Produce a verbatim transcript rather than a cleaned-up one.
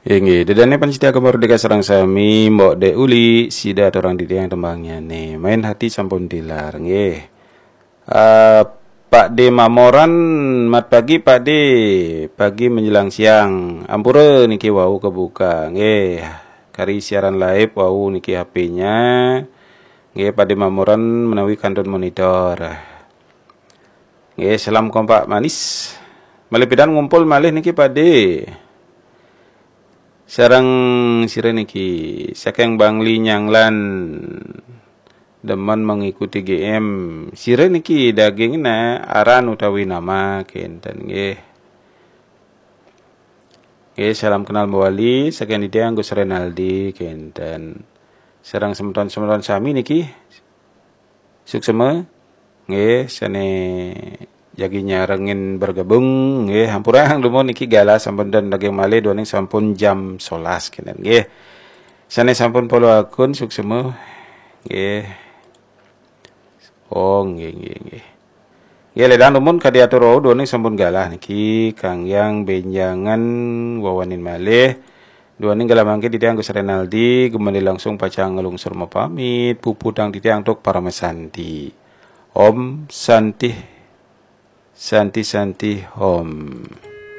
Inggih, dedane panitia Gema Merdeka sareng sami, Mbok Dek Uli, sida aturang titiang tembangnyane. Main hati sampun tilar, nggih. Eh, Pak De Mamoran, mat pagi Pak De, pagi menjelang siang. Ampura niki wau kebuka, nggih. Kari siaran live wau niki H P-nya. Nggih, Pak De Mamoran menawi kantun monitor. Nggih, salam kompak manis. Malih pidan ngumpul malih niki Pak De. Sareng sira niki saking Bangli Nyanglan, demen mengikuti G M. Sira niki dagingna aran utawi nama kenten nggih. Nggih, salam kenal mawali saking titiang Gus Renaldi kenten. Sareng semeton-semeton sami niki suksema nggih sane jagi nyarengin bergabung nggih, hampurang dumun niki galah sampun ten daging malih duaning sampun jam sebelas kenten nggih. Sane sampun follow akun suksema nggih. Oh, nggih, nggih, nggih. Nggih, ledang dumun kadi atur wau duaning sampun galah niki kanggiang benjangan wawanin malih. Duaning galah mangkin titiang Gus Renaldi gumani langsung pacang nglungsur mapamit, puputang titiang antuk paramasanti. Om Santih, Santih, Santih, Om.